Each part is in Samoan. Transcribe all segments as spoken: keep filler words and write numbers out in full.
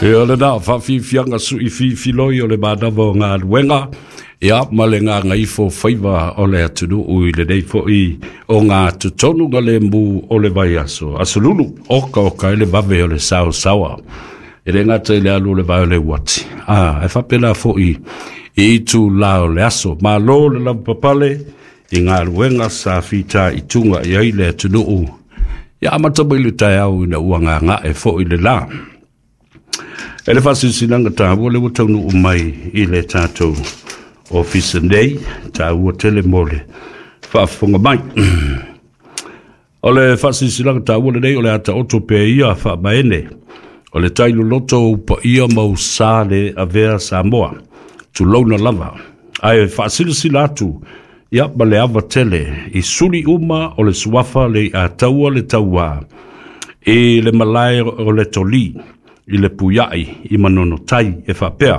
Ia le na whawhiwhianga sui whiwhiloi o le manawa o ngā luenga. Ia ma le ngā ngaifo whaiva o le atunu ui le nei foi o ngā tutonu ngā le mu o le vai aso. Asolulu, oka oka ele vave o le sao sawa. E le ngata i le alu o le vai o le wati. Ah, e whapela foi i itu la o le aso. Ma lo le lampapale i ngā luenga sa whita i tunga i ai le atunu u. Ia amata mai le tai au ina ua ngā ngā e foi le la. E le whasisinanga tāua le ua taunu mai i le tātou ofisa nei, tāua tele mo le whaafonga mai. O le whasisinanga tāua le nei o le ata oto pe ia whaamaene. O le tailo loto upa ia mau sa le avea Samoa. Tulauna lava. Ae whaasilasila atu ia ma le ava tele i suli uma o le suafa le a taua le taua i le malae o le toli i le puiai i manono tai e whapea.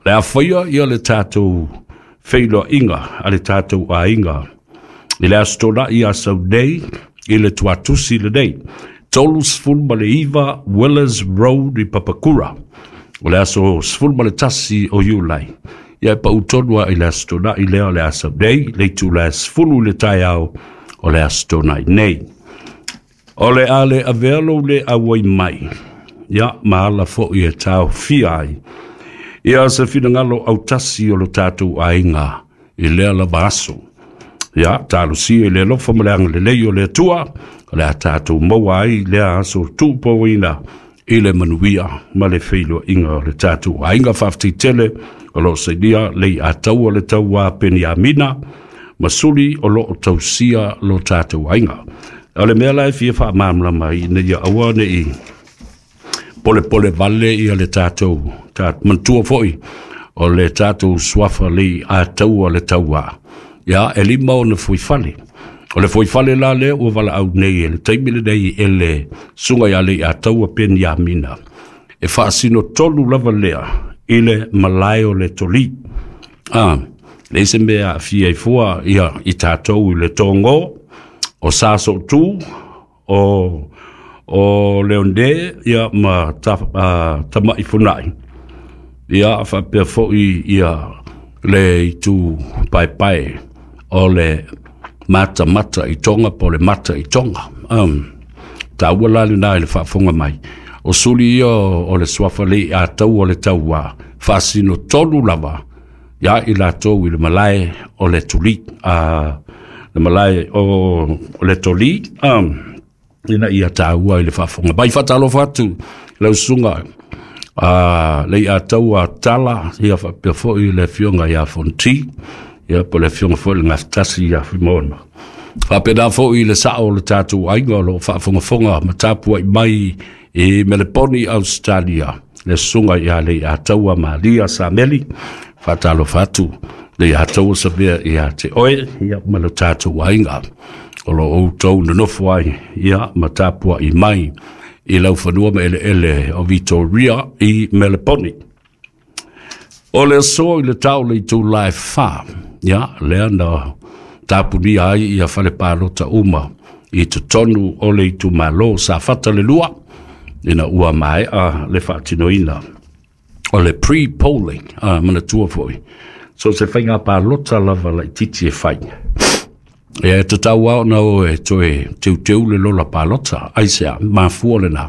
Le a whaia ia le tātou wheiloa inga a le tātou a inga. I le astona i a sau nei i le tuatusi le nei. Tolu sefulu ma le iva Willis Road i Papakura. O le aso sefulu ma le tasi o Iulai. Ia e pau tonua i le astona i lea o le asau nei, le itu le sefulu le tai au o le astona i nei. O le ale avelo le awai mai. Ia maala foi e tau fia ai. Ia se finangalo autasi o lo tātou ainga i lea lava aso. Ia talusia i le alofa ma le agalelei o le Atua, o le a tātou maua ai lea aso tuupauina i le manuia ma le feiloaiga o le tātou aiga. Faafetai tele o loo sainia lei ataua le tauā Peniamina ma suli o loo tausia lo tātou aiga. O le mea la e fia faamalamalama ina ia aua nei pole pole vale ia le tātou tā, mantua foi o le tātou suafa lei ataua le tauā. Ia e lima ona fuifale. O le fuifale la lea ua wala au nei e le taimi le nei e le sunga ia lei ataua Peniamina. E whaasino tolu lava lea i le malae o le toli. Ah, le se mea fia i fua ia i tātou i le tongo o Saso tu o o Leonde ia ma ta, uh, tamai funai. Ia whapea foi ia le itu pae pae o le mata mata i tonga po le mata i tonga. Um, tā ua la le nā i le whaafonga mai. O suli ia o le suafa le a tau o le tauā. Whaasino tolu lava ia i lātou i le malae o le tuli. Uh, le malae o, o le toli. Um, ina ia tāua i le whaafonga. Mai whatalofa atu lau sunga uh, le ia taua tala ia whapea foi le fionga ia fonti ia po le fionga foi le ngafutasi ia fimona. Whapena foi le sao le tātou ainga o lo whaafongafonga ma tāpua i mai i Meleponi, Australia. Le sunga ia le ia taua Maria Sameli. Whatalofa atu le ia taua sabea ia te oe ia ma le tātou ainga. O lo outou nonofo ai ia ma tāpua i mai i laufanua ma ele ele o Victoria i Meleponi. O le aso i le tau le itu lae wha, ia, lea na tāpunia ai ia whale pālota uma i te tonu o le itu malo sa fata le lua, ina ua mai a le whaatinoina. O le pre-polling, a manatua foi. So se whainga pālota lava la i titi e whai. Ia e te tau ao na o e toe teu teu le lola pālota, ai sea, mafua le nā.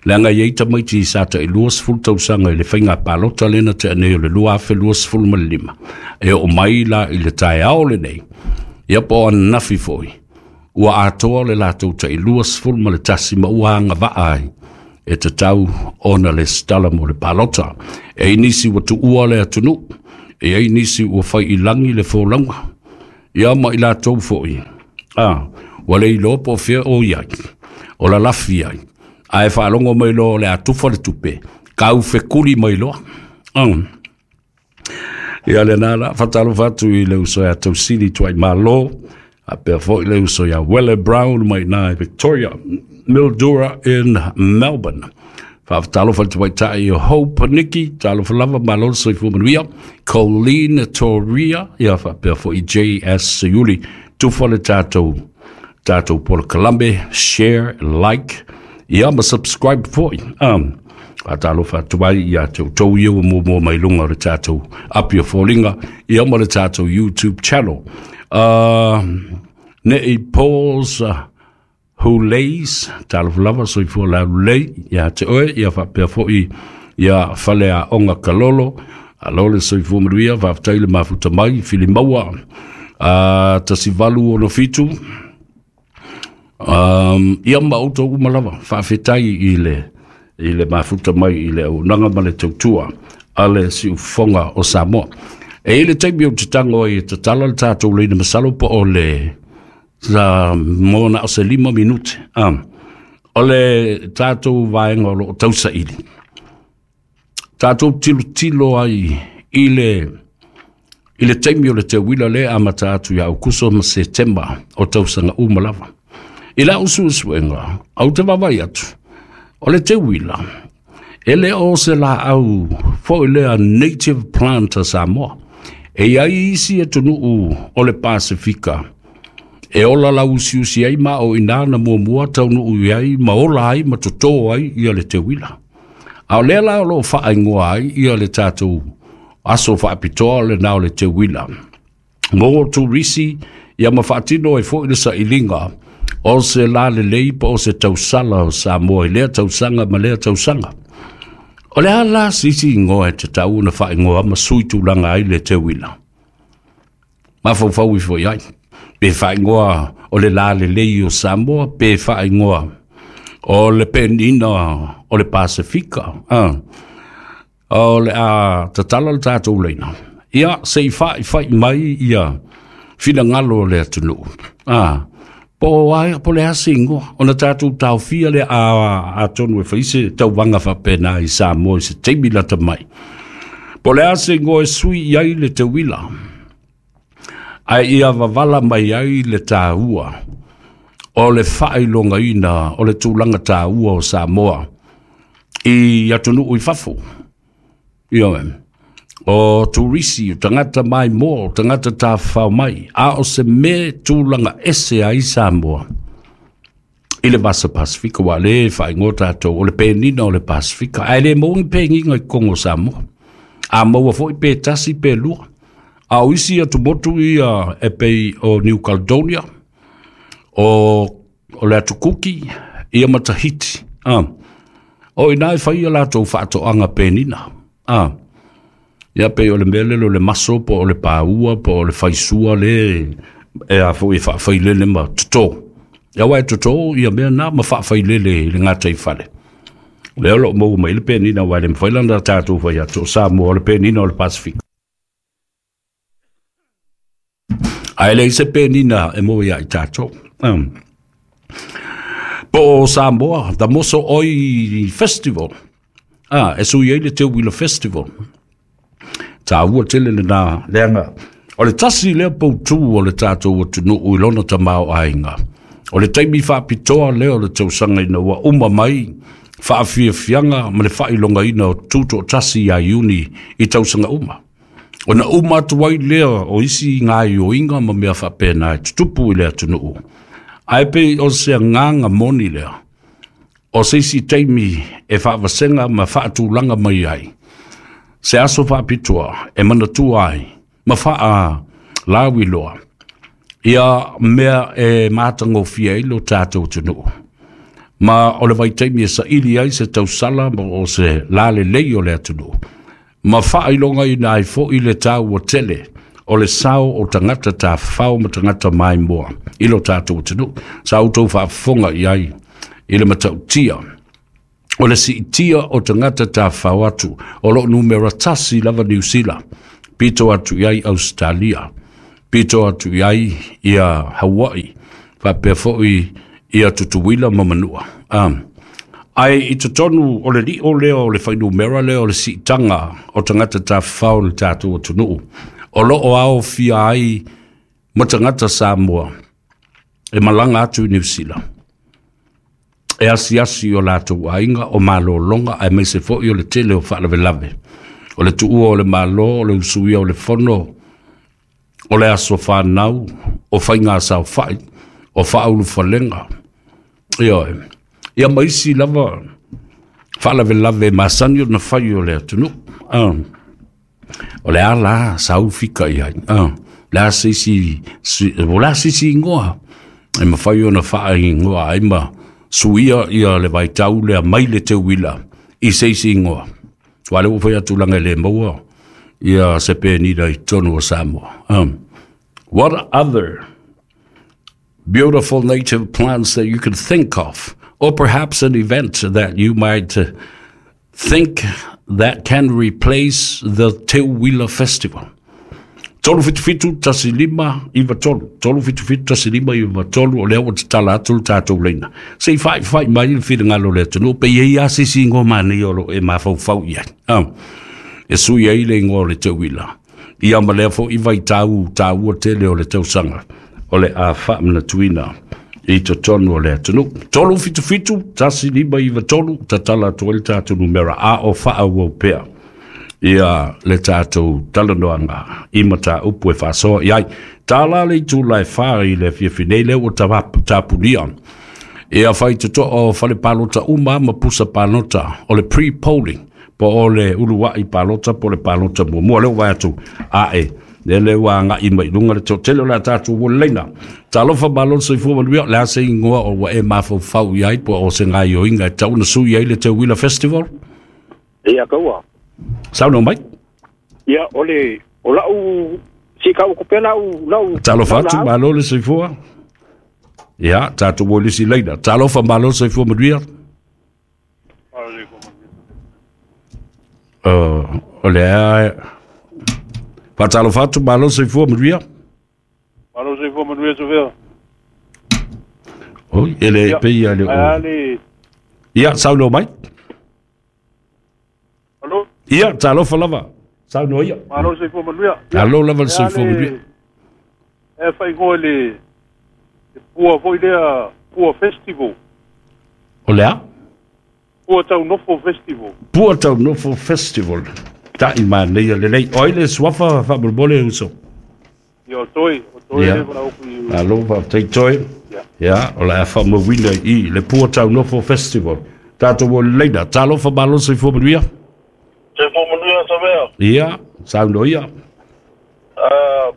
Le anga iei tamaiti i sata i lua sefulu tausaga i le whainga pālota lena te anei o le lua afe lua sefulu ma le lima. E o mai la i le tae ao le nei. Ia po anafi foi. Ua atoa le lātou ta i lua sefulu ma le tasi ma ua anga vaa ai. E te tau ona le stala mo le pālota. E nisi ua tuua le atunu. E ai nisi ua whai i langi le fōlaunga. Ia ma i lātou foi. Ah, ua le iloa po o fea o iai. O la lafi ai. A e whaalongo mai loa le atufa le tupe. Kau fekuli mai loa. Um. Ia le nā la, whatalofa atu i le uso ia tausili tuai malo. A pea foi le uso ia Welle Brown mai nā Victoria Mildura in Melbourne. Whaatalofa le tuai tai o Hope Nikki, talofa lava malo soifua manuia, Colleen Toria, ia whapea foi J S Sayuli, tufa le tātou, tātou polokalame, share, like, ia ma subscribe foi. Um, Faatalofa atu ai ia te outou ia ua muamua mai luga o le tatou api o foliga ia ma le tatou YouTube channel. Uh, nei Paul's uh, Huleis, talofa lava soifua laulelei ia te oe, ia faapea foi ia fale aoga Kalolo, alo le soifua manuia, faafetai le mafuta mai, Filimaua, uh, tasi valu ono fitu, um, ia ma outou uma lava, faafetai i le, i le mafuta mai i le auaunaga ma le tautua a le siufofoga o Samoa. E i le taimi o te tago ai e tatala le tatou leina masalo po o le sa mo na o se lima minute. Um, o le tatou vaega o loo tausaili. Tatou tilotilo ai i le i le taimi o le teuila le amata atu ia Aukuso ma Setema o tausaga uma lava. I lau suesuega, au te vaavaai atu, o le teuila, e le o se laau foi lea native plant a Samoa. E iai isi atunuu o le Pasifika, e ola lauusiusi ai ma o ina na muamua taunuu i ai ma ola ai ma totō ai ia le teuila. A o lea la o loo faaigoa ai ia le tatou aso faapitoa lena o le teuila. Mo turisi ia ma faatino ai foi le sailiga o se lalelei po o se tausala o Samoa i lea tausaga ma lea tausaga. O le a la se isi igoa e tatau ona faaigoa ma sui tulaga ai le teuila. Mafaufau ifo i ai. Pe faaigoa o le lalelei o Samoa, pe faaigoa o le penina o le Pasifika. Ah. O le a tatala le tatou leina. Ia, se i faifai mai ia finagalo o le atunuu. Ah. Po ai po le a se igoa ona tatou taofia le a atonu e fai se tauvaga faapena i Samoa i se taimi lata mai. Po le a se igoa e sui i ai le teuila. Ae ia vavala mai ai le taua o le faailogaina o le tulaga taua o Samoa i atunuu i fafo. Ia, o turisi, o tagata maimoa, o tagata tafafao mai, a o se mea tulaga ese ai Samoa i le Vasa Pasifika, ua le faaigoa tatou o le penina o le Pasifika, ae le maua ni peniga i totonu o Samoa. A maua foi pe tasi pe lua. A o isi atumotu ia e pei o New Caledonia, o, o le Atu Kuki, ia ma Tahiti. Ah. O ina e fai ia latou faatoaga penina. Ah. Ia pei o le mea lele o le maso po o le paua po o le faisua le e a foi e faafailele ma toto. Ia aua e toto ia mea na ma faafailele i le gataifale. Lea o loo maua mai le penina aua e le mafai la ona tatou fai atu o Samoa o le penina o le Pasifika. Ae leai se penina e maua ia i tatou. Um. Po o Samoa, the Moso Oi Festival. Ah, e sui ai le Teuila Festival. Taua tele lena leaga. O le tasi lea poutū o le tatou atunuu i lona tamaoaiga. O le taimi faapitoa lea o le tausaga ina ua uma mai faafiafiaga ma le faailogaina o tutoatasi ia Iuni i tausaga uma. Ona uma atu ai lea o isi gaoioiga ma mea faapena e tutupu i le atunuu. Ae pei o se agaga moni lea. O se isi taimi e faavasega ma faatulaga mai ai. Se aso faapitoa e manatua ai ma faalauiloa ia mea e matagofie ai lo tatou atunuu. Ma o le vaitaimi e saili ai se tausala ma o se lalelei o le atunuu. Ma faailogaina ai foi le taua tele o le sao o tagata tafafao ma tagata maimoa i lo tatou atunuu. Sa outou faafofoga i ai i le matautia o le siitia o tagata tafafao atu o loo numera tasi lava Niu Sila, pito atu i ai Ausetalia, pito atu i ai ia Hawaii, faapea foi ia Tutuila ma Manua. Um, ae i totonu o le lio lea o le fuainumera lea o le siitaga o tagata tafafao le tatou atunuu, o loo aofia ai ma tagata Samoa e malaga atu i Niu Sila. E asiasi o latou aiga o malologa aemaise foi o le tele o faalavelave. O le tuua o le malo, o le usuia o le fono, o le aso whanau, o faiga saofai, o faaulufalega. Ioe. Ia ma isi lava Faalavelave masani ona fai o le atunuu. Ah. O le a la sau fika i ai. Ah. Le a se isi, o le a se isi igoa e mafai ona faaigoa ai ma suia ia le vaitau lea mai le teuila i se isi igoa. Ua le ua fai atu laga e le maua ia se penina i totonu o Samoa. Um, what other beautiful native plants that you could think of, or perhaps an event that you might uh, think that can replace the Teuila Festival? Tolu fitu fitu tasi lima iva tolu. Tolu fitu fitu tasi lima iva tolu o lea ua tatala atu le tatou leina. Se i faifai mai le finagalo o le atunuu pe i ai lava se isi igoa manaia o loo e mafaufau i ai. Ah, e sui ai le igoa o le teuila. Ia ma lea fo'i vaitau taua tele o le tausaga o le a faamanatuina i totonu o le atunuu. Tolu fitu fitu tasi lima iva tolu tatala atu ai le tatou numera a o faaauau pea ia le tatou talanoaga i mataupu e faasoa i ai. Tala le itula e fa i le afiafi nei lea ua tapunia ia faitotoa o fale palota uma ma pusa palota o le pre-polling po o le uluai palota po o le palota muamua lea ua vaai atu ae lele ua agai mai i luga le toatele o le a tatou uolileina. Talofa malo le soifua manuia, o le a se igoa o ua e mafaufau i ai po o se gaoioiga e tatau ona sui ai le Teuila Festival? Ia kaua. Saunoa mai. Ia, o le, o lau, si kau ko pela u lau. Talofa atu, malo le soifua. Ia, tatou o i le isi laina. Talofa malo le soifua manuia. Uh, o le a faatalofa atu, malo le soifua manuia. Malo le soifua manuia Sofia. Oi, e le pei ia le o. Ia, saunoa mai. Alo. Ia, talofa lava. Saunoa ia. Malo le soifua manuia. Alo lava le soifua manuia. E faaigoa i le pua foi lea, Pua Festival. O le a? Pua Taunofo Festival. Pua Taunofo Festival. Ta'i manaia lelei. O ai le suafa faamolemole uso? Ia, o Toi. O Toi le valaauku i. Malo faafetai Toi. Ia, o le a faamauina i le Pua Taunofo Festival. Tatou o le leina. Talofa malo le soifua manuia. Soifua manuia Savea. Ia, saunoa ia. Ah,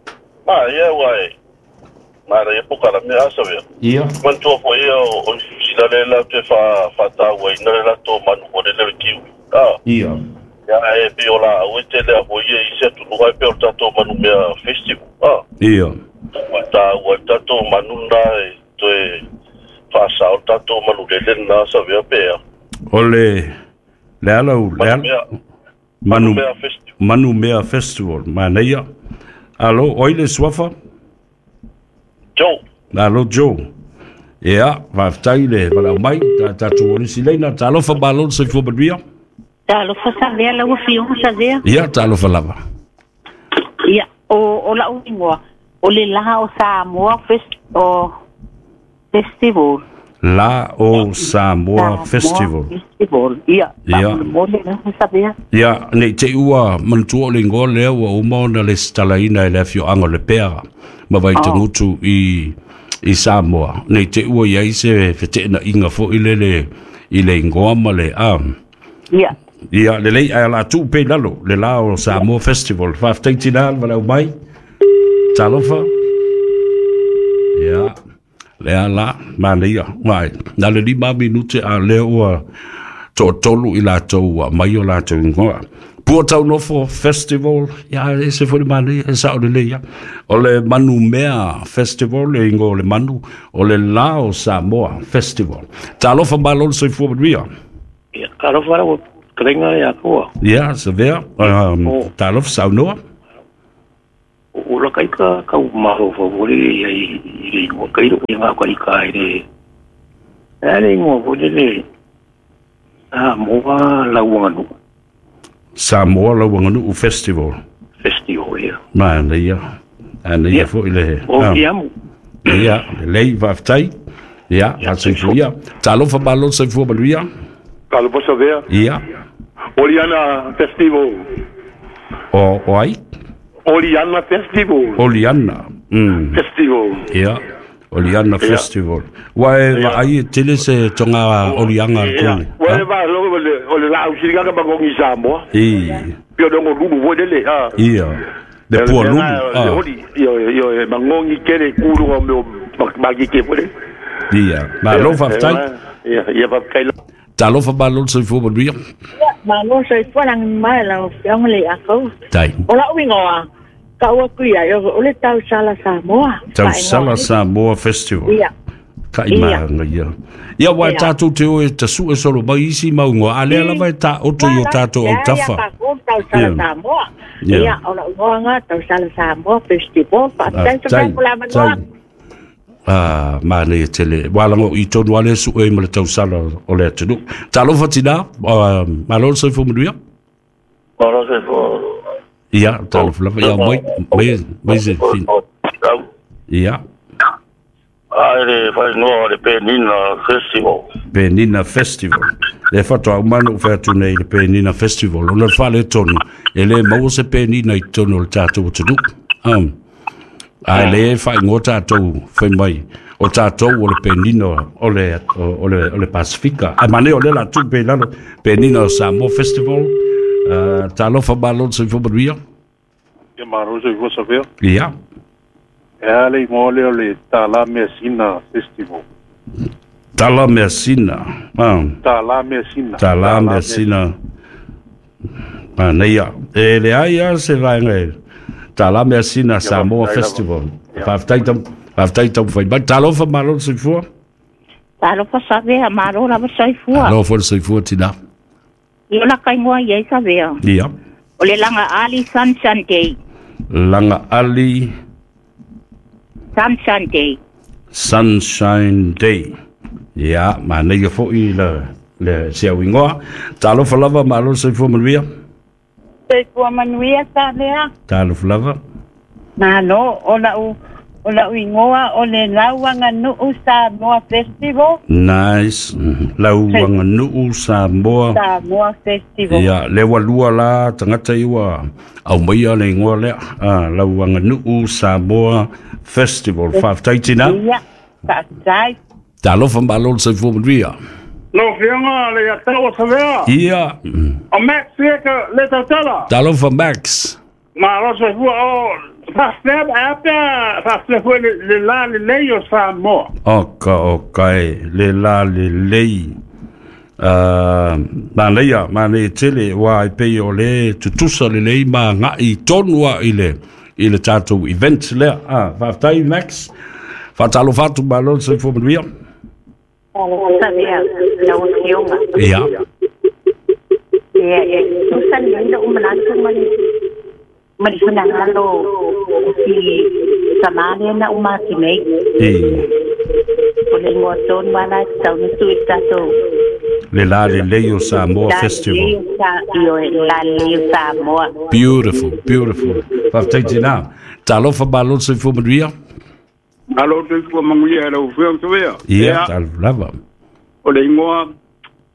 ma ia ua e. Mara ia poka la mea Savea. Ia. Manatua foi ia o sila le la te fa fa taua ina le latou manu o le le kiwi. Ah. Ia. Ia e pe o la au e tele a foi ia i se atunuu ai pe o le tatou manu mea festival. Ah. Ia. Ua taua le tatou manu na e toe faasao le tatou manu lele na Savea pe ea. O le le ala u le ala Manu Mea Festival. Manu Mea Festival manaia. Alo, oi le suafa? Joe. Alo Joe. Ia, faafetai le valaau mai, ta tatou o nisi leina, talofa malo le soifua manuia. Talofa Savea lau afioga Savea. Ia, talofa lava. Ia, o, o lau igoa, o le la o Samoa Fest, o Festival. La o Samoa Festival. Festival. Ia, Ia. faamolemole lau Savea. Ia, nei te i ua manatua o le igoa lea ua uma ona lesitalaina e le afioaga o Lepea ma Vaitagutu i i Samoa. Nei te i ua i ai se feteenaiga foi lele i le igoa ma le a. Ia. Ia, lelei, ae o le a tuu pea i lalo le la o Samoa Festival. Faafetai tinā le valaau mai. Talofa. Ia, lea la, manaia. Uai, na o le lima minute a o lea ua toatolu i latou ua aumai o latou igoa. Pua Taunofo Festival, ia e ese foi le manaia, e sao lelei lava. O le Manumea Festival, le igoa o le manu, o le La o Samoa Festival. Talofa malo le soifua manuia. Ia, talofa lau fetalaiga ia Atua. Ia, Savea, um, talofa saunoa. O la kaika kau malo foi le ia i le igoa kai loko i ngā kalika i le e le igoa foi le Samoa Lauaganuu. Samoa Lauaganuu Festival. Festival, ia. Manaia. Anaia foi le. O fiamu. Ia, lelei, faafetai. Ia, faatsoifua ia. Talofa malo le soifua manuia. Talofa Savea. Ia. Oliana Festival. O, o ai? Oliana Festival. Oliana. Mm. Festival. Ia. Oliana Festival. Ua e vaai e tele se tonga olianga al kuli. Ua e va lo o le lau siliga ka magongi Samoa. I. Pio dongo lulu foi lele. Ah. Ia. Le pua lulu. Ah. Io io e magongi kele kulu o meu magi ke foi. Ia. Malo faafetai. Ia, ia faafetai. Talofa malo soifua manuia. Malo soifua lagi mai lau afioga le akau. Tai. O la'u igoa ka'u aku ia o le Tausala Samoa. Tausala Samoa Festival. Ia. Ka'imaga ia. Ia ua e tatou te o e tasu'e solo mai isi mauigoa a lea lava e ta'oto i o tatou autafa. Tausala Samoa. Ia o la'u igoa ga Tausala Samoa Festival. Faafetai soifua lamanoa. Ah, manaia tele. Ua lago i tonu a le su'e ma le tausala o le atunuu. Talofa tinā, malo le soifua manuia. Malo soifua. Ia, talofa lava. Ia, mai, mai, mai se fin. Ia. Ai le faaigoa o le Penina Festival. Penina Festival. Le faatoa uma ona ou fai atu nei le Penina Festival. Ona le faaletonu, e lē maua se penina i totonu o le tatou atunuu. Um. A le faaigoa tatou fai mai o tatou o le penina o le o le o le Pasifika. A mane o le la tu pe lalo Penina o Samoa Festival. Uh, talofa malo le soifua manuia. Ia malo soifua Savea. Ia. E a le igoa lea o le Tala Measina Festival. Tala Measina. Ah. Tala Measina. Tala Measina. Manaia. E leai a se vaega e Tala Measina Samoa Festival. Faafetai tau, faafetai tau fai mai. Talofa malo le soifua. Talofa Savea, malo lava soifua. Alofa le soifua tina. Ia la kaigoa ia i Savea. Ia. O le Laga Ali Sunshine Day. Laga Ali Sunshine Day. Sunshine Day. Ia, manaia fo'i le le si au igoa. Talofa lava malo le soifua manuia. Soifua manuia Savea. Talofa lava. Malo o la'u o la'u igoa o le Lauaganu'u Samoa Festival. Nice. Lauaganu'u Samoa. Samoa Festival. Ia, le ua lua la tagata i ua aumaia le igoa lea. Ah, Lauaganu'u Samoa Festival. Faafetai tina. Ia, faafetai. Talofa malo le soifua manuia. Lau afioga le iatau o Savea. Ia. O Max ia ka le tautala. Talofa Max. Malo soifua o faafetai a pea faafetai foi le la lelei o Samoa. Oka oka e le la lelei. Uh, manaia, manaia tele ua e pei o le tutusa lelei ma nga'i tonu a i le i le tatou event lea. Ah, faafetai Max. Faatalofa atu malo le soifua manuia. Savea, lau afioga. Ia. Ia, e tusa lelei la'u manatu ma le ma le finagalo o si tamā lea na uma atu nei. E. O le igoa tonu a la e tatau ona tuu i le tatou Le la lelei o Samoa Festival. Ioe, la lelei o Samoa. Beautiful, beautiful. Faafetai tina. Talofa malo le soifua manuia. Malo soifua manuia lau afioga Savea. Ia, talofa lava. O le igoa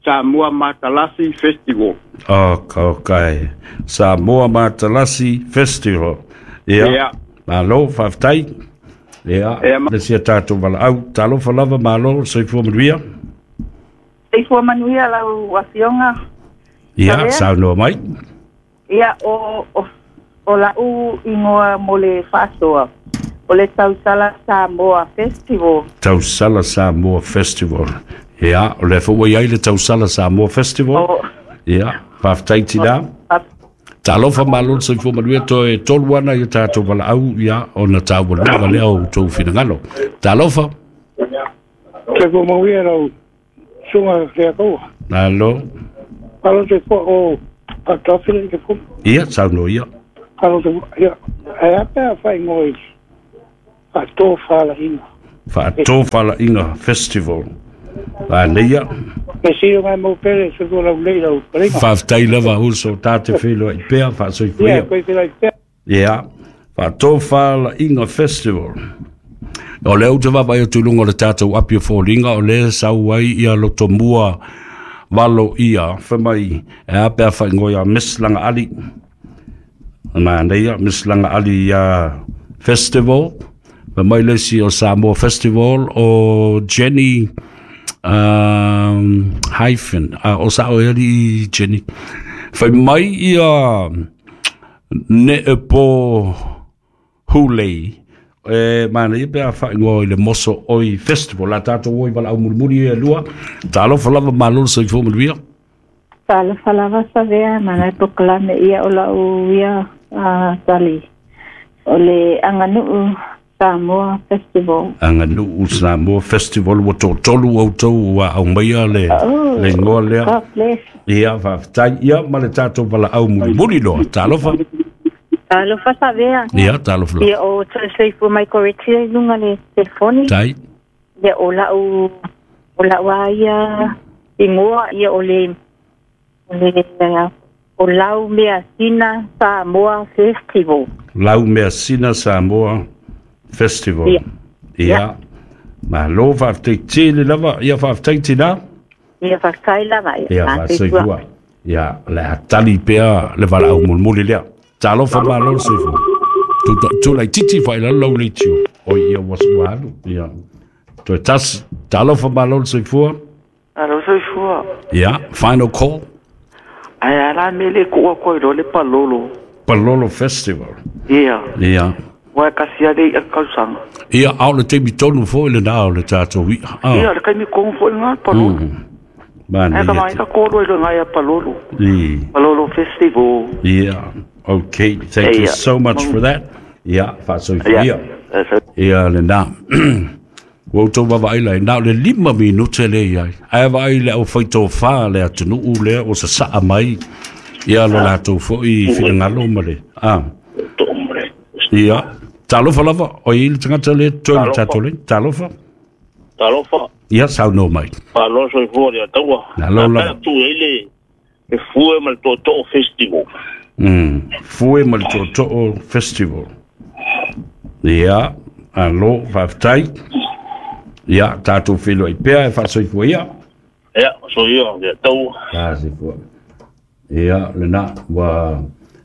Samoa Matalasi Festival. Oka, oka e. Samoa Matalasi Festival. Ia. Ia. Malo, faafetai. Ia, le sia tatou valaau. Talofa lava malo le soifua manuia. Soifua manuia lau afioga. Ia, saunoa mai. Ia, o, o, o la'u igoa mo le faasoa. O le Tausala Samoa Festival. Tausala Samoa Festival. Ia, o le foi ua iai le Tausala Samoa Festival. O. Ia, faafetai tina. Talofa malo le soifua manuia toe tolu ana i o tatou valaau ia ona taualuga lea o outou finagalo. Talofa. Soifua manuia lau susuga Leakoa. Malo. Malo soifua o faatoafila i te fono. Ia, saunoa ia. Malo soifua. Ia, e a pea faaigoa i Faatofalaiga. Faatofalaiga Festival. Manaia. Me sio mai mau pele soifua laulelei lau palega. Faafetai lava uso ta te feiloai pea faasoifua ia. Ia, koe feiloai pea. Ia, Faatofalaiga Festival. O lea ou te vaavaai atu i luga o le tatou api o foliga o lea sau ai ia lotomua valo ia fai mai e a pe a faaigoa ia Miss Lagaali. Manaia Miss Lagaali ia Festival. Fa mai le isi o Samoa Festival o Jenny um, hyphen uh, o sa o ali Jenny. Fai mai ia ne e po hulei e mana ia pe a whaingoa i le Moso Oi Festival. La tātou oi wala au mulimuli e lua. Talofa lava malo le soifua manuia. Talofa lava savea mana e pokalame ia o lau ia uh, tali. O le Anganuu Samoa Festival. Anganuu Samoa Festival ua tōtolu au tau ua au maia le, Oh, le ngoa lea. God bless. Ia, whawhitai ia ma le tātou wala au mulimuli loa. Talofa. Talofa savea. Ia, talofa lava. Ia o soifua mai koreti i lunga le telefoni. Tai. Ia o lau o lau aia ingoa ia o le o le o lau mea sina Samoa Festival. Lau mea sina Samoa Festival. Ia. Ia. Malo whawhitai tele lava. Ia whawhitai tina. Ia whawhitai lava. Ia whawhitai. Ia le atali pea le wala au mulimuli lea. Talofa malo le soifua. Tu lai titi whai la lau le tio. O ia wasu Ia. Toe tasi. Talofa malo le soifua. Alo soifua. Ia. Final call. Ai ala mele kua koi lo le Palolo. Palolo Festival. Ia. Ia. Wai kasia le ia kausanga. Ia, au le teimi tonu fo i le nā o le tātou ia. Ah. Ia, le kaimi kongu fo i ngā Palolo. Mm. Mane Ai ka ia mai ka kōrua i lo ngā ia Palolo. I. Palolo Festival. Yeah. Okay, thank you Ia. so much for that. Ia, whaasoifua Ia. ia. Ia le nā. Ua tau wawa ai nā le lima minute le iai. Ai wa ai le au whaitō whā le atunuu le o sa saa mai. Ia lo lātou fo i whirangalo ma le. Ah. Ia. Talofa lava, o i le tangata le toi le tātou le. Talofa. Talofa. Ia, sau no mai. Malo soifua le ataua. Nalo lava. Tu e le e fue ma le Tootoo Festival. Mm. Fue ma le Tootoo Festival. Ia, alo, whawhitai. Ia, tātou whilo i pea e whaasoifua ia. Ia, so ia, le ataua. Whaasoifua. Ia, le nā, wa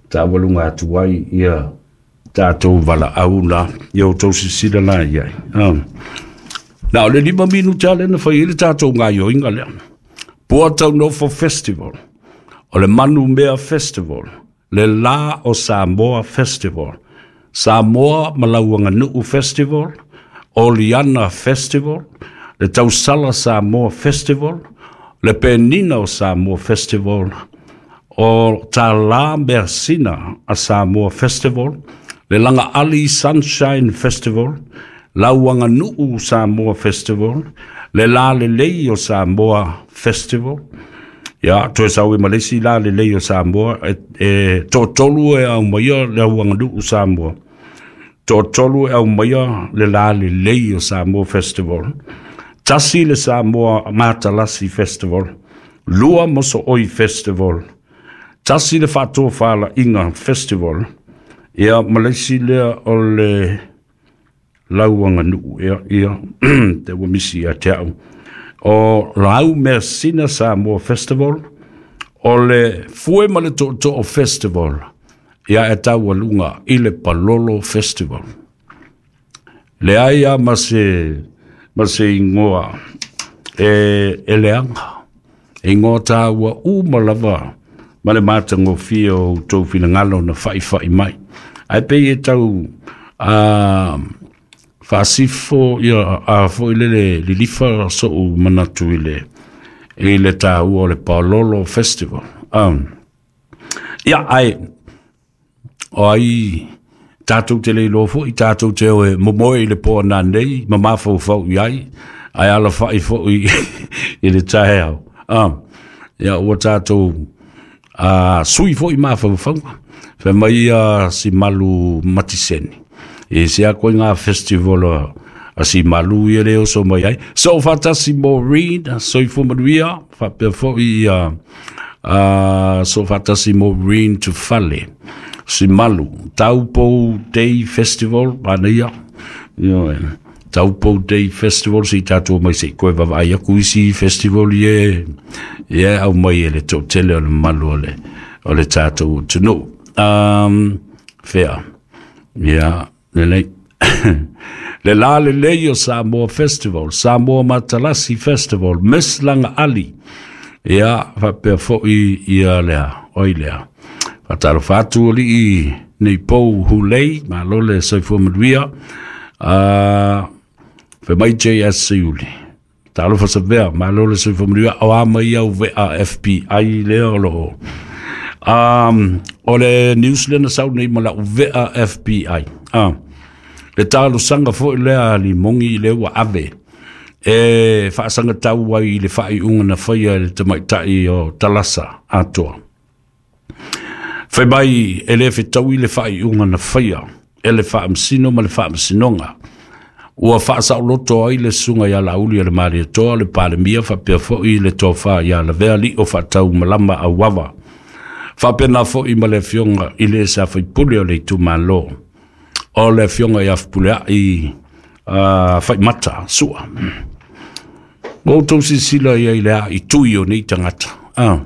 tāwalunga atu ai ia tātou wala au la, ia o tau sisila la ia. Um. Nā, o le lima minute ale na whai le tātou ngā ioinga lea. Pua tau nofo Festival. O le Manu Mea Festival. Le La o Samoa Festival. Samoa Malauanganuu Festival. Oliana Festival. Le Tausala Samoa Festival. Le Penina o Samoa Festival. O Tala Mersina a Samoa Festival. Le Langa Ali Sunshine Festival. Lauanganuu Samoa Festival. Le La Lelei o Samoa Festival. Ia, toe sau e Malesi La Lelei o Samoa. E, e tōtolu e au maia le Lauanganuu Samoa. Tōtolu e au maia le La Lelei o Samoa Festival. Tasi le Samoa Matalasi Festival. Lua Moso Oi Festival. Tasi le Whātōwhala Inga Festival. Ia, Malesi lea o le Lauanganuu, ia, ia, te ua misi ia te au. O Lau Mersina Samoa Festival, o le Fue ma le Tootoo Festival, ia e taualuga i le Palolo Festival. Le ai a ma se, ma se ingoa e, e leanga. E ingoa tāua uma lava ma le mātagofie o tou finagalo na whai mai. Ai pei e tau uh, whaasifo ia a fo i lele lilifa so u manatu i le i le tāua o le Palolo Festival. Um, ia ai o ai tātou te leilo fo i tātou te oe momoe i le poa nā nei, ma mawhau i ai, ai ala whai fo i, i le taeao. Um, ia ua tātou uh, sui fo i mawhau fau, wha mai uh, si malu matiseni. E se a koe ngā festival a si malu i leo so mai ai. So whatasi Maureen, soifua manuia, whapea fo i uh, uh, so whatasi Maureen to Fale. Si malu, Taupo Day Festival, anaia. Ioe. Taupo Day Festival, si tātou mai se koe vavai aku isi festival i e, e au mai e le tōtele o le malu o le, o le tātou tunu. Um, whea. Ia, lelei. Le la lelei o Samoa Festival, Samoa Matalasi Festival, Miss Langa Ali. Ia, faapea fo'i ia lea, oi lea. Faatalofa atu alii nei pou hulei, malo le soifua manuia. Uh, fe mai J S Siuli. Talofa savea, malo le soifua manuia, o a mai au V A F B I lea o loo. Um, o le New Zealand sau nei ma lau V A F B I. Ah. Le talosaga fo'i lea limongi i le ua ave e faasagatau ai i le faaiuga na faia e le tamaitai o Talasa atoa. Fai mai e le fetaui le faaiuga na faia e le faamasino ma le faamasinoga. Ua faasaoloto ai le susuga ia Lauli o le Malietoa, le Palemia, faapea fo'i le tofa ia Lavea Lio faatau malama auava. Faapena fo'i ma le afioga i le sa faipule o le itumalo o le afioga ia Fepuleai uh, Faimata Sua. Ua outou silasila ia i le a i tui o nei tagata. Ah,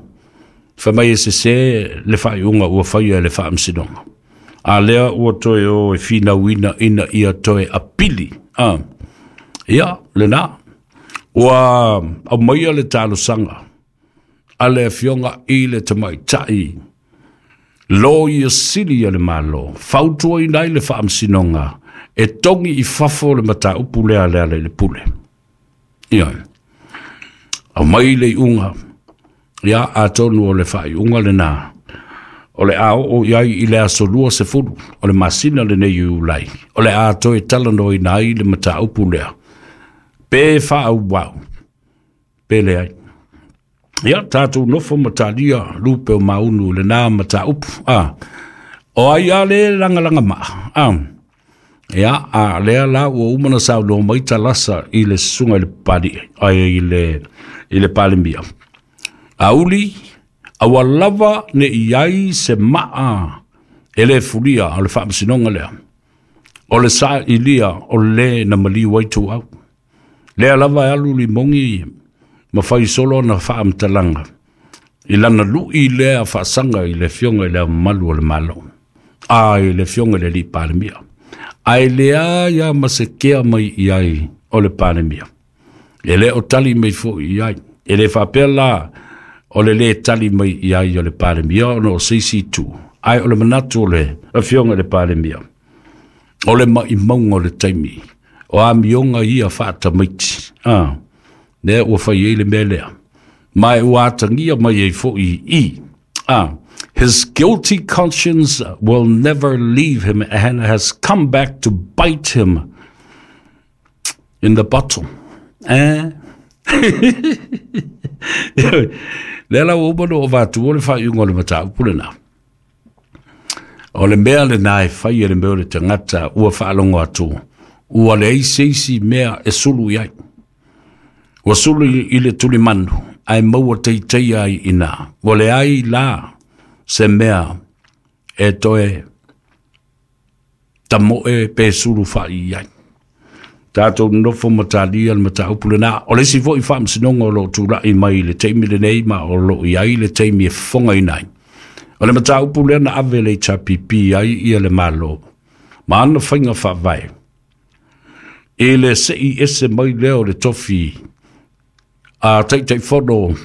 fai mai e sesē le faaiuga ua faia e le faamasinoga. A lea ua toe o e finauina ina ia toe apili. Ah, ia, lena. Ua aumaia le talosaga a le afioga i le tamaitai loia sili a le malo, fautuaina ai le faamasinoga e togi i fafo le mataupu lea le ala i le pule. Ia, aumai le iuga, ia atonu o le faaiuga lena, o le a oo i ai i le aso lua sefulu, o le masina lenei i Iulai, o le a toe talanoaina ai le mataupu lea, pe faaauau, pe leai. Ia, tātou nofo matalia lupe o maunu le nā mataupu. Ah, o ai a le langalanga maa. Ah, ia, a lea la ua uma na saunoa mai Talasa i le susuga i le pali, ai i le, i le Palemia. Auli, aua lava ne i ai se maa e le fulia o le faamasinoga lea. O le sa'ilia o le na maliu ai tuau. Lea lava e alu limongi ma fai solo na faamatalaga i lana lu'i lea faasaga i le afioga i le mamalu o le Malo, a i le afioga i le alii Palemia. Ae leai a ma se kea mai i ai o le Palemia. E le o tali mai fo'i i ai. E le faapea la o le lē tali mai i ai o le Palemia ona o se isi itu. Ae o le manatu o le afioga i le Palemia, o le maimauga o le taimi, o amioga ia faatamaiti. Ah, lea ua fai ai le mea lea. Ma e ua atagia mai ai fo'i i. Ah, his guilty conscience will never leave him and has come back to bite him in the bottom. Eh? Lea la ua uma na o vātua le faaiuga o le mataupu lena. O le mea lena e fai e le mea o le tagata ua faalogo atu, ua leai se isi mea e sulu i ai. Ua sulu i le tulimanu, ae maua teiteia ai ina. Ua leai la se mea e toe tamoe pe sulu fa'i ai. Tātou nofo matalia le mataupu lena. O le isi fo'i faamasinoga o loo tula'i mai i le taimi lenei ma o loo i ai le taimi e fofogaina ai. O le mataupu lea na ave le H P P ai ia le Malo. Ma ana faiga faavae. E le se'i ese mai lea o le tofi a Taitaifono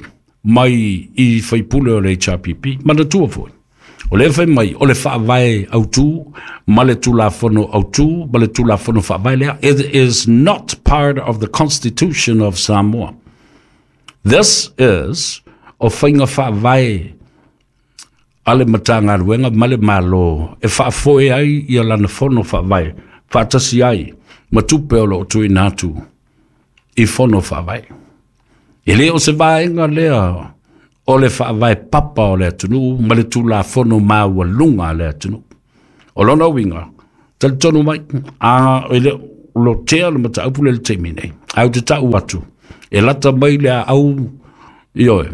mai i faipule o le H P P. Manatua foi. O le fai mai, o le faavae autū, ma le tulafono autū, ma le tulafono faavae lea. It is not part of the Constitution of Samoa. This is o faiga faavae a le Matagaluega ma le Malo e faafoe ai ia lana fono faavae, faatasi ai ma tupe o loo tuuina atu i fono faavae. E le o se vaega lea o le faavae papa o le atunuu ma le tulafono maualuga a le atunuu. O lona uiga, talitonu mai, a e le lotea le mataupu le le taimi nei. Ae ou te ta'u atu, e lata mai le aau ioe,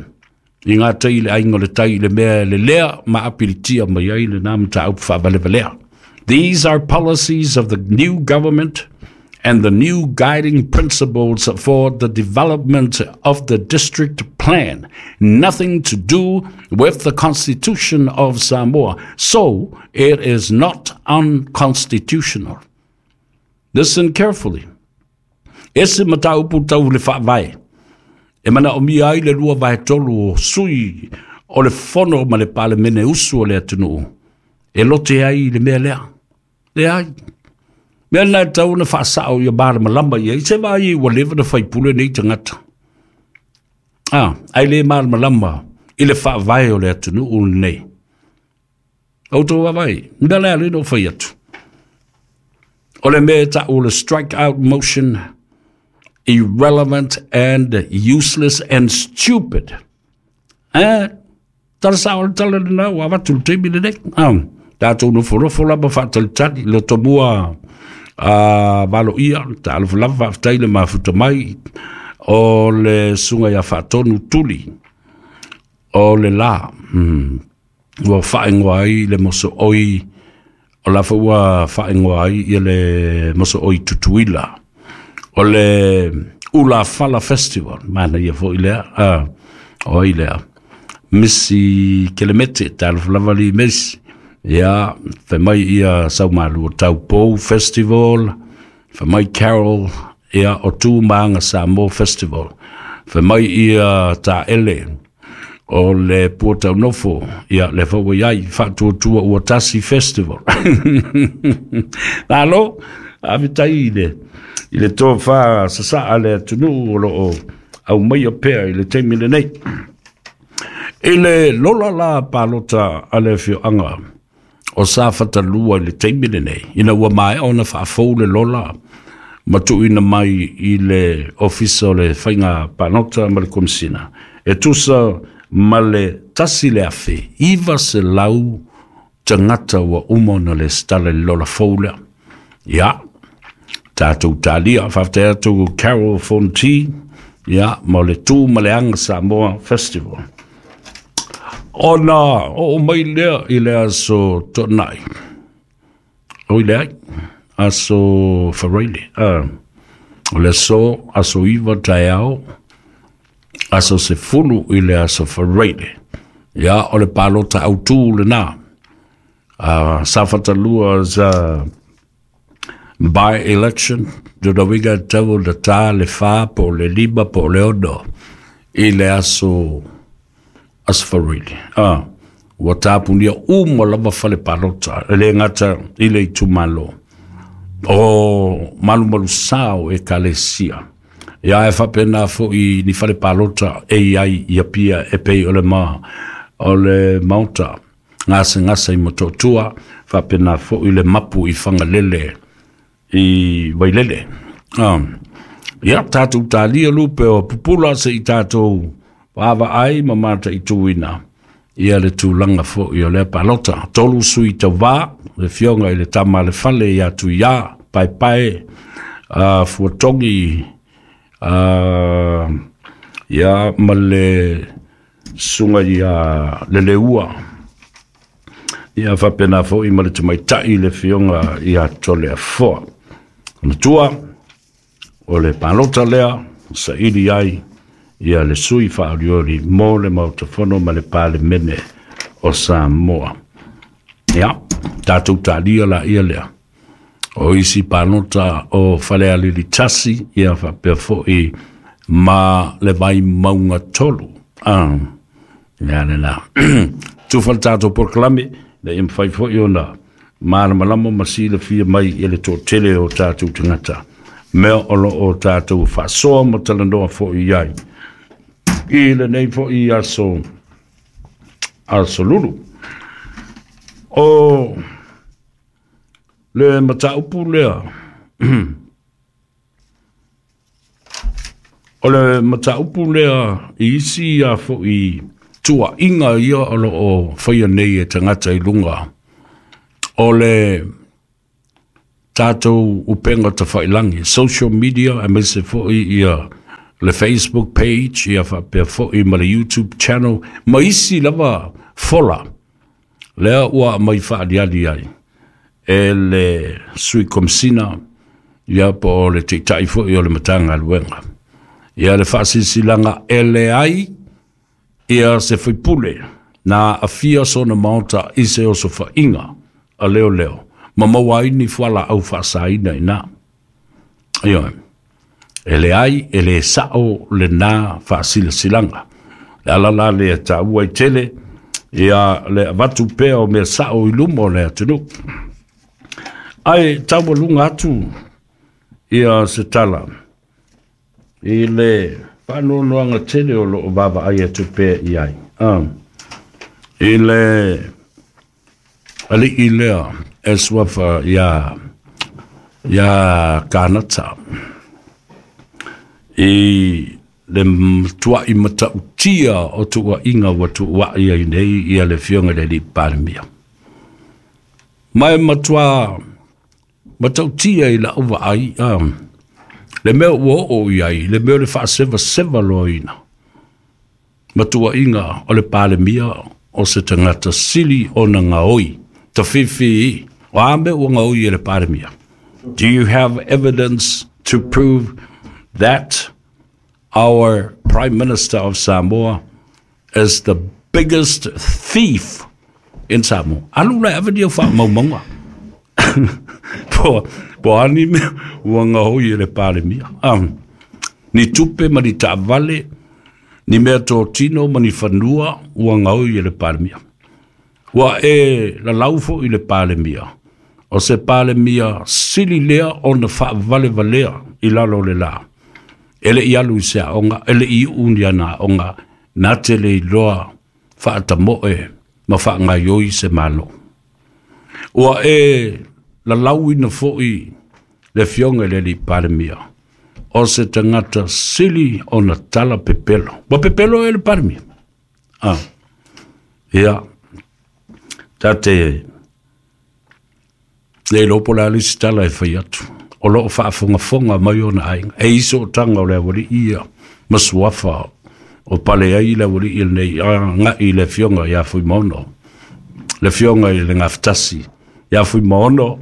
i ngā tai le aiga o le tai i le mea le lea ma apilitia mai ai lenā mataupu faavalevalea. These are policies of the new government and the new guiding principles for the development of the district plan. Nothing to do with the Constitution of Samoa. So it is not unconstitutional. Listen carefully. Ese mataupu tau le faavae e manaomia ai le lua vaetolu o sui o le fono ma le palemene usu o le atunuu e lote ai le mea lea. Leai. Mea na e tau na faasao ia malamalama ia i se vai ua leva na faipule nei tagata. Ah, ai le malamalama i le faavae o le atunuu lenei. Outou vaavaai, mea lea le no fai atu. O le mea e tau le strike out motion, irrelevant and useless and stupid. Eh, tala sao le tala lena ua avatu le taimi lenei. Ah, tatou nofonofo lava faatalitali le tomua a valo ia, talofa lava faafetai le mafuta mai o le suga ia faatonu tuli o le la. Mm. Ua faaigoa ai le mosooi o la foi ua faaigoa ai ia le mosooi Tutuila o le Ulafala Festival, manaia foi lea. Ah, o ai lea Missy Kelemete, talofa lava li Missy. Ia, fai mai ia Saumalu o Taupou Festival, fai mai Carol, ia o Tūmāga Samoa Festival, fai mai ia Taele o le Pua Taunofo, ia le foi ua iai Faatuatua Ua Tasi Festival. Malo, faafetai i le i le tofa sasaa le atunuu o loo aumaia pea i le taimi lenei. I le lola la palota a le afioaga o Safatalua i le taimi lenei, ina ua maea ona faafou le lola ma tuuina mai i le ofisa o le faiga palota ma le komisina, e tusa ma le tasi le afe, iva selau tagata ua uma ona lesitala i le lola fou lea. Ia, tatou talia, faafetai atu Carol Fonti, ia, ma le Tu ma le Aga Samoa Festival. Ona oo mai lea i le aso Toonai. Oi leai, aso Faraile. Ah, o le aso, aso iva taeao, aso sefulu i le aso Faraile. Ia, o le palota autū lena. Uh, Safatalua sa by election, lona uiga e tatau ona tā le whā po o le lima po o le ono i le aso aso Faraile. Ah, ua tapunia uma lava fale palota, e le gata i le itumalo o malumalu sao e kalesia. Ia e faapena foi ni fale palota e iai i Apia e pei o le ma o le maota gasegase i Motootua, faapena foi le mapu i Fagalele i Vailele. Ah, ia tatou talia lupe o pupula se i tatou vaavaai ma mataituina ia le tulaga foi o lea palota. Tolu sui tauvā, le afioga i le Tama a le Fale ia Tuiā, Paepae, uh, Fuatogi, uh, ia ma le suga ia Leleua. Ia faapena foi ma le tamaitai le afioga ia Toleafoa. Matua, o le palota lea, saili ai ia le sui faaolioli mo le Maota Fono ma le Palemene o Samoa. Ia, tatou talia la ia lea. O isi palota o Falealili tasi, ia faapea foi ma le Vaimauga tolu. Ah, ia le la. Tufa le tatou polokalame, ina ia mafai foi ona malamalama ma silafia mai i le toatele o tatou tagata. Mea o loo tatou faasoa ma talanoa foi i ai i lenei foi aso aso lulu. O le mataupu lea, o le mataupu lea i isi a foi tuuaiga ia o loo faia nei e tagata i luga o le tatou upega tafailagi, social media, aemaise foi ia le Facebook page, ia faapea foi ma le YouTube channel, ma isi lava fola lea ua aumai faaliali ai e le sui komisina, ia po o le taitai foi o le Matagaluega. Ia le faasilasilaga e leai ia se faipule na aafia sona maota i se osofaiga a leoleo ma maua ai ni fualaau faasaina i ina. Ioe, e le ai, e le sao le nā whaasilasilaga. Le ala la le taua i tele, ia le avatu pea o mea sao i luma o le atunuu. Ai taualuga atu ia se tala i le faanoanoaga tele o loo vaavaai atu pea i ai. Ah. I le alii lea e suafa ia ia Kanata i le tuai matautia o tuuaiga ua tuuai ai nei ia le Afioga i le Alii Palemia. Ma e matuā matautia i lau vaai, ah, le mea ua oo i ai, le mea o le faasevaseva loaina ma tuuaiga o le Palemia o se tagata sili ona gaoi tafifi o a mea ua gaoi e le Palemia. Do you have evidence to prove that our Prime Minister of Samoa is the biggest thief in Samoa? Alu la ave dia fa maumaunga. Po, po ani mea ua gaoi e le Palemia. Um, ni tupe ma ni taavale, ni mea totino ma ni fanua ua gaoi e le Palemia. Ua e lalau foʻi le Palemia. O se Palemia sili lea ona faavalevalea i lalo o le lā. E le i alu i se aoga, e le i uu ni ana aoga, na te le iloa faatamoe ma faagaioi se malo. Ua e lalauina foʻi le Afioga i le Alii Palemia o se tagata sili ona tala pepelo. Ua pepelo e le Palemia. Ah. Ia, tate le iloa po o le a le isi tala e fai atu. O loo faafogafoga mai ona aiga. E iso o taga o le awalii ia ma suafa o pale ai le awalii lenei agai le Afioga ia Fuimaono. Le Afioga i le Gafatasi ia Fuimaono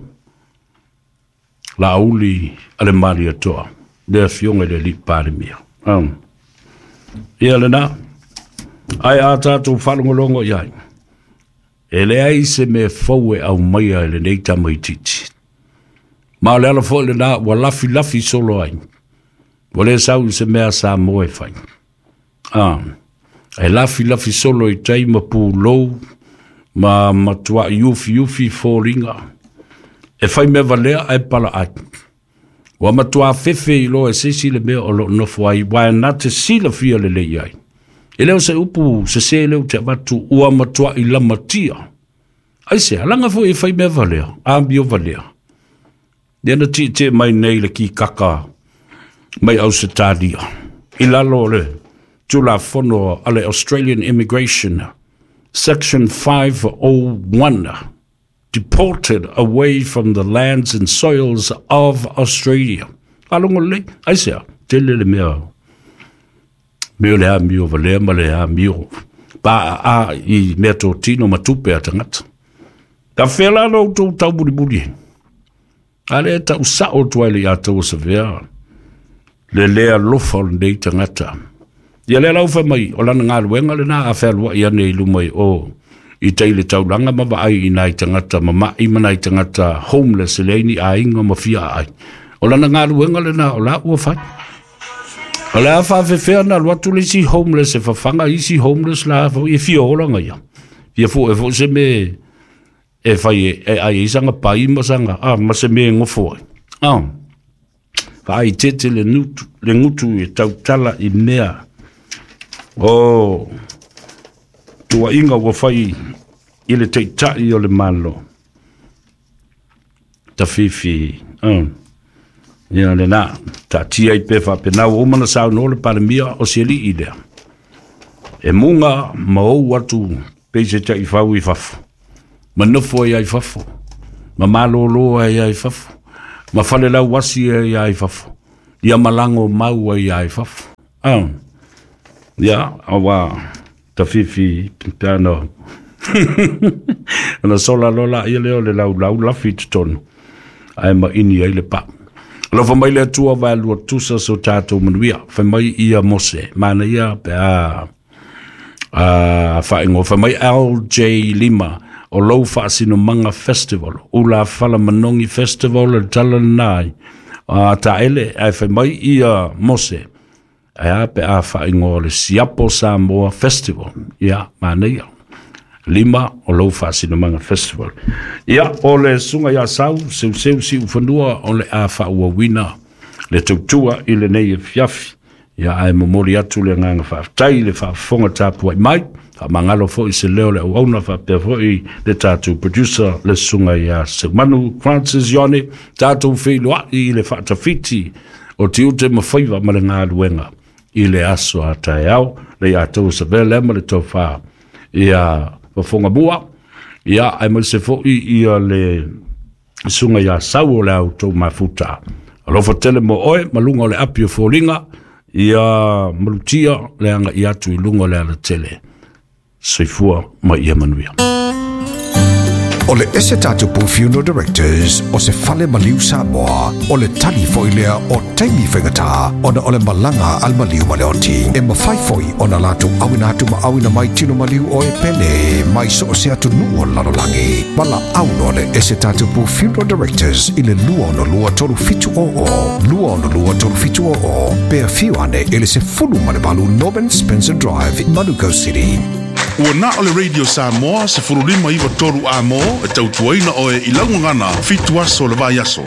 Laauli a le Malietoa, le Afioga i le Alii Palemia. Um. Ia lena, ai a tatou faalogologo i ai. E leai se mea fou e aumaia e lenei tamaitiiti. Ma o le ala foʻi lenā ua lafilafi solo ai. Ua le sau i se mea sa mo e fai. Ah, e lafilafi solo i tai ma pulou ma matuai ufiufi foliga. E fai mea valea ae palaai. Ua matuā fefe i loa e se isi le mea o loo nofo ai, uae na te silafia lelei ai. E le o se upu sesē lea ou te avatu ua matuai lamatia. Aisea, laga foʻi e fai mea valea, amio valea. Lea na tietie mai nei le kikaka mai Ausetalia. I lalo o le Tulafono a le Australian Immigration, Section five oh one, deported away from the lands and soils of Australia. Faalogo lelei, aisea, tele le mea mea o le amio valea ma le amio paa i mea totino ma tupe a tagata. Ka fea la lo outou taumulimuli ai. A lea tau sao atu ai le ia tau o savea le le alofa o lenei tagata. Ia lea lau fai mai o lana galuega lenā a fealuai ane i luma i o i tai le taulaga ma vaai i nai tagata mamaʻi ma nai tagata homeless e leai ni aiga ma fia aai. O lana galuega lenā o la ua fai. O le a faafefea na alu atu le isi homeless e fafaga isi homeless la foʻi e fia olaga ia. Fia foʻe foʻi se mea e fai e ai ai sanga pai ma sanga ah, ma se mea e gofo ai. Ah. Faaitete le nutu, le gutu e tautala i mea o tuuaiga ua fai i le taitai o le Malo. Tafifi. Ah. Ia lenā, taatia ai pea faapenā ua uma ona saunoa le Palemia o se alii lea. E muga ma ou atu pei se taifau i fafo. Ma nofo ai ai fafo. Ma malōlō ai ai fafo. Ma falelauasi ai ai fafo. Ia malago mau ai ai fafo. Ah. Ia, aua tafifi piano. Ona sola lola ia lea o le laulau lafi i totonu. Ae maini ai le pā. Alofa mai le Atua vaelua tusa so tatou manuia. Fai mai ia Mose. Manaia pe a a faaigoa. Fai mai L J Lima o lou faasinomaga Festival. Ula fala manogi Festival le tala lenā ai. a taele ae fai mai ia Mose ae a pe a faaigoa o le Siapo Samoa Festival. Ia manaia lima o lou faasinomaga festival. Ia o le suga iā Sau seuseu siufanua o le a faauauina le tautua i lenei afiafi. Ia ae momoli atu le agaga faafetai i le faafofoga tapuai mai, faamagalo foi se leo le auauna faapea foi le tatou producer le susuga iā Seumanu Francis Ione, tatou feiloai i le faatafiti o tiute ma faiva ma le galuega i le aso a taeao le ia tou savea lea ma le tofa ia fofoga mua. Ia aemaise foi ia le susuga iā Sau o le au tou mafuta. Alofa tele mo oe ma luga o le api o foliga ia malutia le agai atu i luga o le alatele. Soifua ma ia manuia. O le ese tatupu Funeral Directors o se fale maliu Samoa, o le tali foi lea o taimi faigata ona o le malaga a le maliu ma le oti. E mafai foi ona latou auina atu ma auina mai tino maliu o e pele mai so o se atunuu o le lalolagi. Valaau le ese tatupu Funeral Directors i le lua ono lua tolu fitu o o, lua ono lua tolu fitu o o, pe afio ane i le sefulu ma le valu Norman Spencer Drive, Manukau City. Ua na o le Radio Samoa se fulu lima iwa toru a mo e tautuaina oe i laugagana fitu aso le vai aso.